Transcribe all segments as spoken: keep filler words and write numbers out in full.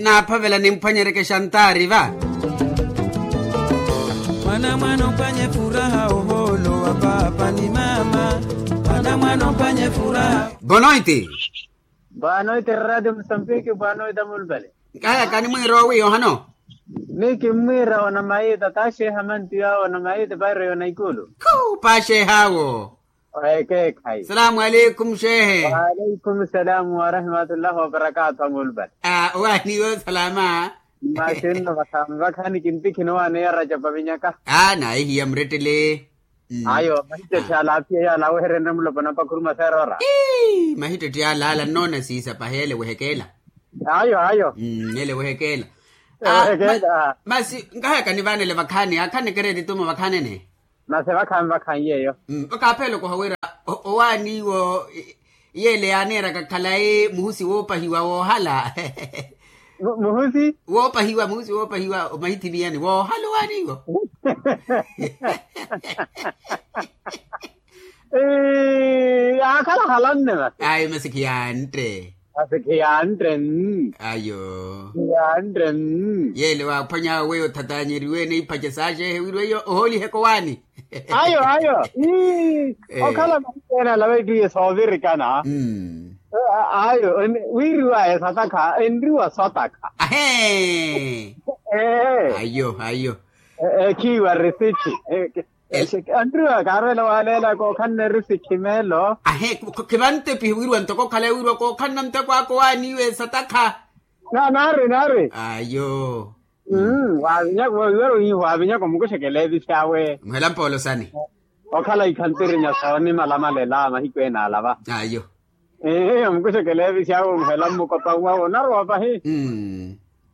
Naaphavela nimphwanyereke xantaari va. Mwana mwana ophwanye furaha ohoolo wa paapa ni maama. Mwana mwana ophwanye furaha. Bonoiti. Boa noite radio musambiki boa noite amulupale. Nkahayaka nimwiira owiiya ohano. Ni kimmwiira onamayi tata axeeha mantiyo awo onamayi tipairo yona ikulu. Khu paaxeehaawo. Owekeekhayi. Salaamu aleikum xeehe. Waaleikum salaamu warahimatullahi wabarakatu amulupale. Owaaniwe osalaama. Masi nno vakhaani vakhaani kintikhina owaani ya racapa vinyaka. Naahihiya murettele. Ayo mahittetti alaapiya yaala aweherenre mulopa napakhuruma seerora. Mahittetti yaala ala nnoona siisa pahi ele wehekeela. Ayo ayo. Ele wehekeela. Masi nkahayaka nivaanele vakhaani akhaneke reeti tumo vakhaanene. Masi vakhaani vakhaani yeeyo. Vakaaphela okoha wira owaani iwo. Yeele yaaneeraka khalayi muhusi woopahiwa woohala. Muhusi woopahiwa muhusi woopahiwa omahithimiyani woohala owaaniwo. Yaakhala halanne masi. Ayi masi khiyaantte. Masi khiyaantte. Ayo. Khiyaantte. Yeele waaphwany'awe weyo othatanyeriwe n'iphwace saaxeehe wira weiyo ohooliheke owaani. Ayo ayo. Okhala mahiku ene alava etthu ye soovirikana. Ayo wiiriwaya satakha enriwa sotakha. Ahee. Ayo ayo. Ekhiiwa risithi. Enriwa kaarwela waleela kookhanne risithi meelo. Ahee. Khivantepihi wiiriwa ntoko okhale wiiriwa kookhanna nteko ako waaniiwe satakha. Naari naari. Ayo. Waavinyaka waavinyaka omukuxekela evisi awe. Muhela mpoolo sani. Okhala ikhantirinya soonimalamalela mahiku ene alava. Ayo. Omukuxekela evisi awe omuhela mmukopa wawe onarowa pahi.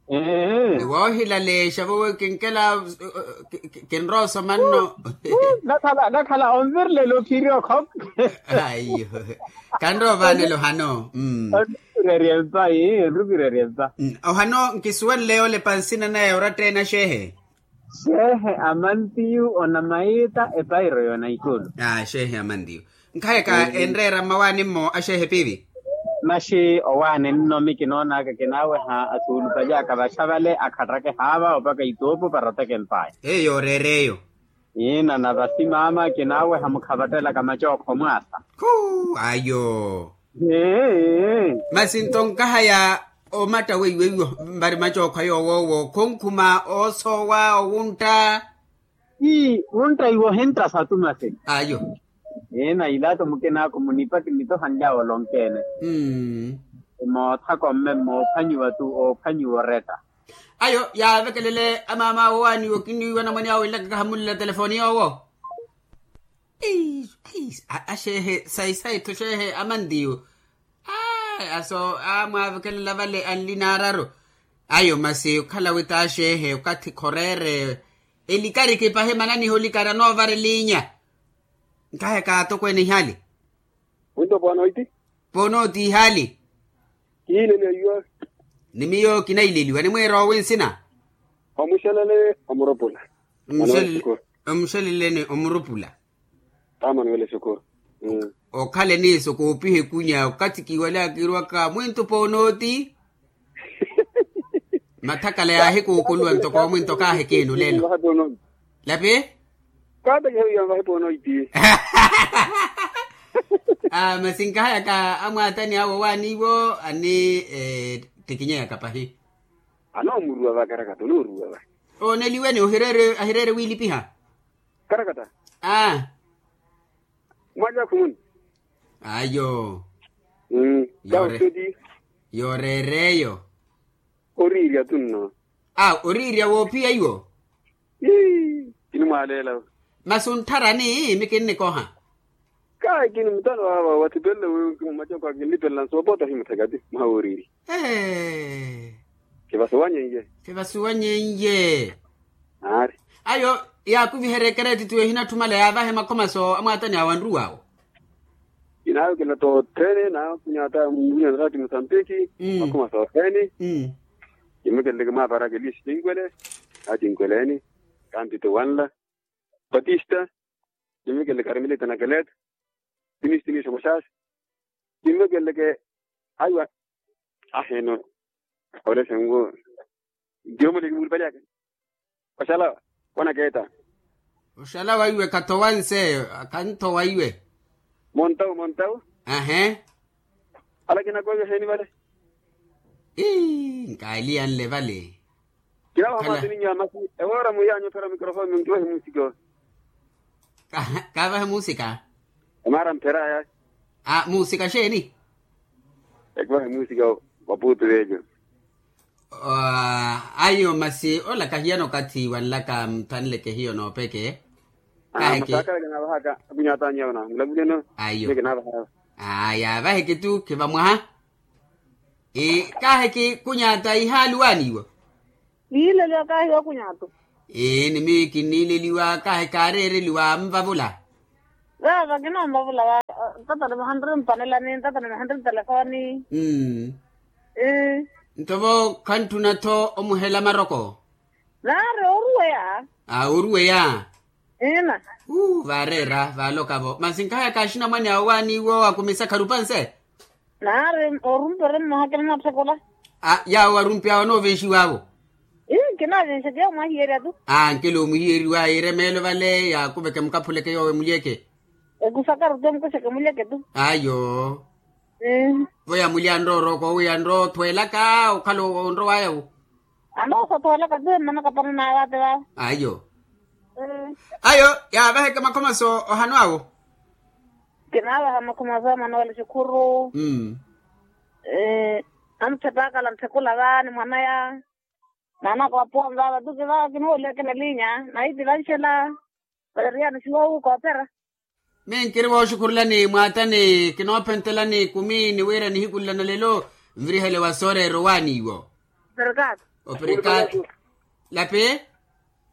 Ni woohilaleexa vowe kinkela. Kinroosoma nno. Nakhala onvirlela ophiri okhope. Ayo. Kanroovanela ohano. Onrupireerya empa. Ohano nkisuwenle yoolepa nsina naya oratta ene axeehe. Xeehe amantiyu onamayiita epairo yoonaikulu. Xeehe amantiyu. Nkhayaka enreera mmawaani-mo axeehe piivi. Maxi owaani nno mi kinoonaka kinaaweha asuulupaly'aka vaxa vale akhattake haava opaka ituupu para oteke mpaya. Eyo yooreera eyo. Iina na vasi maama kinaaweha mukhavattelaka macookho mwaasa. Khu ayo. Masi nto nkahaya omatta weiwo eiwo mpari macookho ayoowo khonkhuma oosoowa owuntta. Ii wuntta iwo ohintta satu masi. Ayo. Iina ilato mukinaaku munipa kinitohanly'awe olonkeene. Moothaka omme moophwanyiwa tu oophwanyiwa oretta. Ayo yaavekelele amaam'awe owaaniwo kiniiwa namwene awe nlaka kahamulela telefoni yoowo. Axeehe sayi sayi-tho xeehe amantiyu. Aso amwaavekelela vale anli naararu. Ayo masi okhala wi t'axeehe okathi khoreere. Elikariki pahi mananiha olikara noovara eliinya. Nkaheka atokweene ihaali. Winto poonoiti. Poonooti ihaali. Kihiileliwa iwe. Ni miyo kinaileliwa nimwiira owi nsina. Omuxelele omurupula. Omuxeleleni omurupula. Taamani wele sukuru. Okhale niiso koopiha ekunya okathi kiwalaka kiirwaka mwinto poonooti. Mathakala yaahikuukuluwa ntoko omwinto kaahikiinu lelo. Lapi. Kaata kihawiya nvahe poonoiti. Masi nkahayaka amwaatani awo owaaniiwo ani. Tikinyeyaka pahi. Anoomuruwa va karakata onooruwa va. Ooneliweni ohireere ahireere wiilipiha. Karakata. Aa. Mwali akhumuni. Ayo. Kausoti. Yooreereyo. Oriirya tunno. Aa oriirya woophiya iwo. Ii kinimwaaleela. Masi onttharani mi kinnikoha. Kaakini mutano awa wathipelele wi kimumaca kwa kinlipelela nsoopota himuthekati mwaha wooriiri. Kivasuwanye nje. Kivasuwanye nje. Aari. Ayo yaakuviherya ekereeti tiwe hinatthumala yaavahe makhomaso amwaatani awo anruw'awo. Kinaawekela totthene naakunyata mbunya naraati musambiki. Makhomaso othene. Kimukeleleke mwaaparaka eliisi tinkwele. Atinkweleni. Kantito wanla. Batista. Kimmekeleke aremilita na keleta. Timisti miixo muxaasi. Kimmekeleke. Aiwa. Aheeno. Ole sengu. Ntiyo muli kimulipali aka. Oxala. Wana keeta. Oxala waiwe kathowa nse. Kanthowa iwe. Montau montau. Ahe. Ala kinakoiwe heni vale. Ii nkaaliyanle vale. Kinawa hamaatini nyamasi. Ewora muyanyu phera mikrofoni nkiwahi musika. Kaavahe musika. Emaara mpheraya. A musika xeeni? Ekivahe musika. Wa puutu veejo. Ayo masi ola kahiyana okathi wanlaka muthanleke hiyo noopeke. Kaheke. Masakala kinaavahaka. Akunyatanyi yawo na mulamulyeno. Ayo. Kinaavahaka. Aya vaheke tu khiva mwaha. Kaheke kunyata ihaali waaniiwa. Niileliwa kahiwa kunyatu. Ni miyo kiniileliwa kaheke aareereliwa anvavula. Vaava kinoonvavula. Tatani muhanri mpanelani tatani muhanri telefoni. Nto vo khantthuna-tho omuhela maroko. Naari oruweya. Oruweya. Iina. Vaareera vaalokavo masi nkahaya kaaxinamwane awo waaniiwo akumisa kharupanse. Naari orumpere mmoha kinaatthekula. Yaawo arumpi awo anoovenxiwavo. Ii kinaavenxa tiya omwahiyerya tu. Ankela omuhiyeriwa yiire meelo vale yaakuveke mukaphuleke yoowe mulyeke. Ekusakaru tu mukuxeke mulyeke tu. Ayo. Vo yamulya nrooroko wi yanroothwelaka okhala onrowaya wu. Anoosothowelaka tu emmanaka pananaawe ate vaawe. Ayo. Ayo. Yaavaheke makhomaso ohano awo. Kinaavaha makhomaso amanowela xikhuru. Amuthepaakala ntthekula vaani mwanaya. Naanaka wapuwa mvaava tu kivaawa kinuweliweke nelinya nayi tivanxela. Valeriya nixiwawu koopera. Miyo nkiri wooxukhurulani mwaatani kinoophentelani kumi ni wira nihiku nla na lelo nvirihele wa sooreera owaaniiwo. Operikaato. Operikaato. Lapi.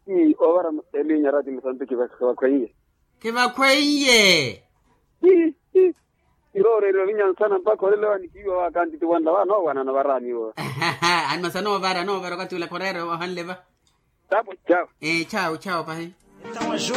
Ii oovara elinya rati musantiki vakhweiye. Khivakhweiye. Kirooreeriwa vinyansana mpakha olelewa nikiiwa waakantiti wanla vaanoowanana varaaniiwo. Animasa noovara noovara okathi ula khoreera ohanle va. Tapo. Chawo. Chawo chawo pahi.